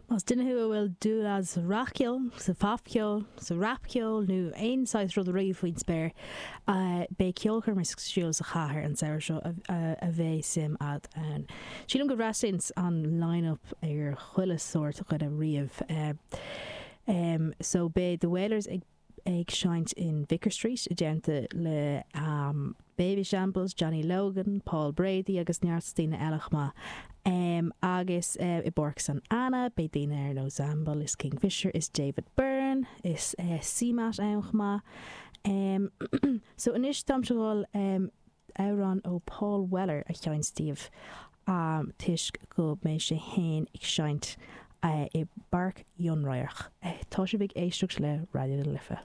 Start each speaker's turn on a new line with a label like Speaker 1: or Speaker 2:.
Speaker 1: Más duine thú a bhfuil dúil agat sa rac-cheol, sa phopcheol, sa rapcheol nó aon saghas rud riamh faoin spéir, beidh ceolchoirm ar siúl sa chathair an samhradh seo a bheidh suim agat ann. Sílim go bhfreastlaíonn an line-up ar chuile sórt dhuine riamh. So beidh The Wailers ag. ag seinnt in Vicar Street i dteannta le Babyshambles, Johnny Logan, Paul Brady agus neart daoine eile chomh maith. Agus i bPáirc San Anna beidh daoine ar nós Zamble is Kingfisher is David Byrne is CMAT ann chomh maith. So anois táimse ag dul amhrán ó Paul Weller a sheinnt daoibh toisc go mbeidh sé fhéin ag seinnt i bPáirc Fhionnradharc. Tá sibh ag éisteacht le Raidió na Life.